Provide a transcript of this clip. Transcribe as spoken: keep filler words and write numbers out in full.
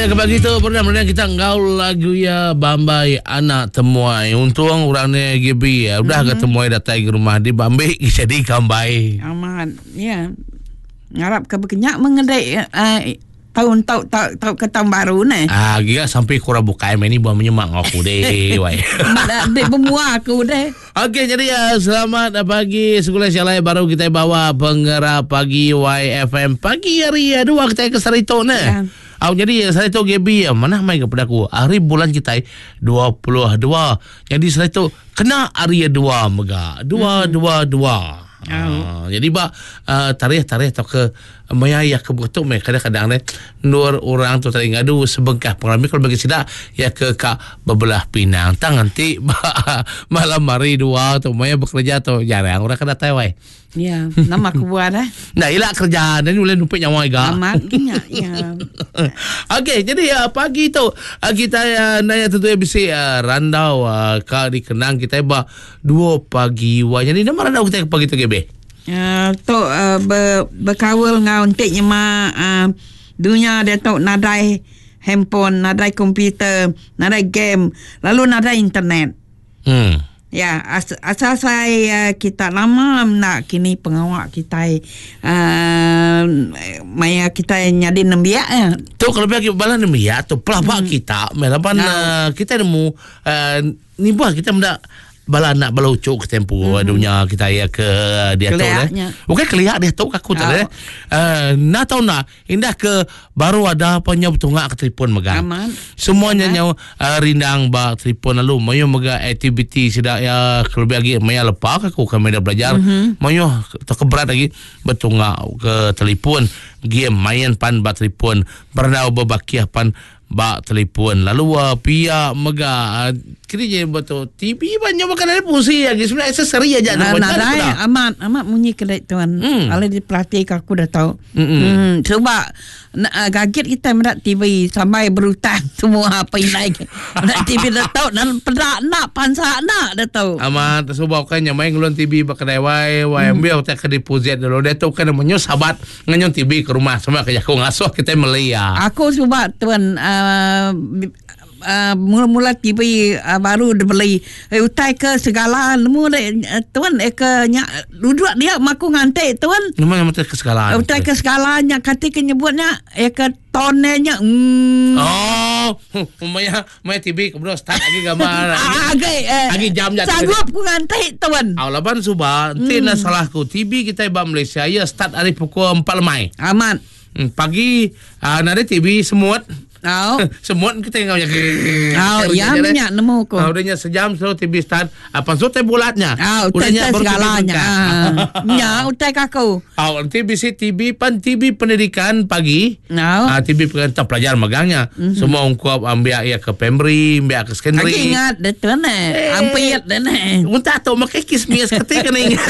Okey, ke pagi tu pernah pernah kita enggau lagu ya Bambai Anak Temuai. Untung orang ni G B ya. Udah mm-hmm. ke temuai datai ke rumah di Bambi jadi kambai. Amat. Ya. Ngarap ke bekenyak mengedek uh, tahun tau tau tau ke tahun baru ni. Ah, giga sampai kurang bukai main ni buat menyemak aku deh, wai. Mak dek bermua aku deh. Okey, jadi uh, selamat pagi sekolah sialai baru kita bawa penggerak pagi Y F M pagi hari uh, dua kita ke Sarito ni. Ya. Au jadi saya tu G B mana mai kepada aku hari bulan kita dua puluh dua. Jadi saya tu kena hari dua mega. Dua hmm. dua dua. Oh. Uh, jadi ba uh, tarikh-tarikh atau ke maya ya ke betul mai kadang-kadang ni nur orang tu tadi ngadu sebengkah pengalaman kalau bagi sidak ya ke kak bebelah pinang tang nanti malam hari dua tu maya bekerja tu jarang orang kena tai wai. Ya, nama aku buat eh. Nah, ilak kerja dan boleh numpik nyawa juga. Amat nya ya. Okey, jadi uh, pagi tu uh, kita uh, nanya tentu ya bisi uh, randau uh, ka dikenang kita ba dua pagi wa. Jadi nama randau kita pagi tu G B. Uh, tu uh, ber, berkawal ngau entik nyema uh, dunia dia tu nadai handphone, nadai komputer, nadai game, lalu nadai internet. Hmm. Ya, as, asal saya kita lama nak kini pengawak kita uh, maya kita nyadi nembiak ya. Tu kalau bagi bala nembiak tu pelabak hmm. kita, melaban no. uh, kita nemu uh, ni buah kita mendak bala anak bala ucuk ke tempo hmm. dunia kita ya ke dia tu eh. Bukan kelihat dia tu aku tak eh. Uh, nak tahu nak indah ke baru ada apa nya betungak ke telefon megang. Aman. Semuanya nya uh, rindang ba telefon lalu mayo mega aktiviti sedak ya lebih lagi maya lepak aku kami dah belajar. Mm-hmm. Mayo terkeberat lagi betungak ke telefon game main pan ba telefon bernau berbakiah pan bak telefon lalu uh, pia mega uh, kini je betul T V banyak makan ada fungsi lagi sebenarnya aksesori aja nah, nah, nah, amat amat bunyi kedai tuan hmm. Kalau dipelatih aku dah tahu hmm. Hmm, sebab uh, kaget kita mendak T V sampai berhutang semua apa yang naik mendak T V dah tahu dan pedak nak pansa nak dah tahu amat sebab kan yang main ngelon T V bak kedai wai wai hmm. ambil tak ke deposit dulu dia tu kan menyo sahabat ngenyon T V ke rumah semua kerja aku ngasuh kita melia aku sebab tuan uh, Uh, uh, mula-mula T V uh, baru dibeli eh, utai ke segala nemu uh, tuan eh, ke nyak duduk dia maku ngantik tuan nemu utai ke segala utai ke segala nya kati ke nyebutnya eh ke tonenya mm. Oh maya maya T V kemudian start lagi gambar lagi eh, lagi jam jatuh sanggup ku ngantik tuan aw laban suba nanti hmm. nak salahku T V kita ba Malaysia ya start hari pukul empat lemai amat hmm, pagi uh, nada T V semut. Oh. Semut kita yang punya. Oh, ya minyak nemu ko. Ah, udahnya sejam selalu T V start. Apa so teh bulatnya? Ah, udahnya segalanya. Nya utai kaku. Ah, nanti bisi T V pan T V pendidikan pagi. No. Ah, T V pendidikan pelajar megangnya. Mm-hmm. Semua ungkup ambil ya ke primary, ambil ke secondary. Aku ingat deh tu ne. Ampir deh ne. Unta tu makai kismis ketika ni.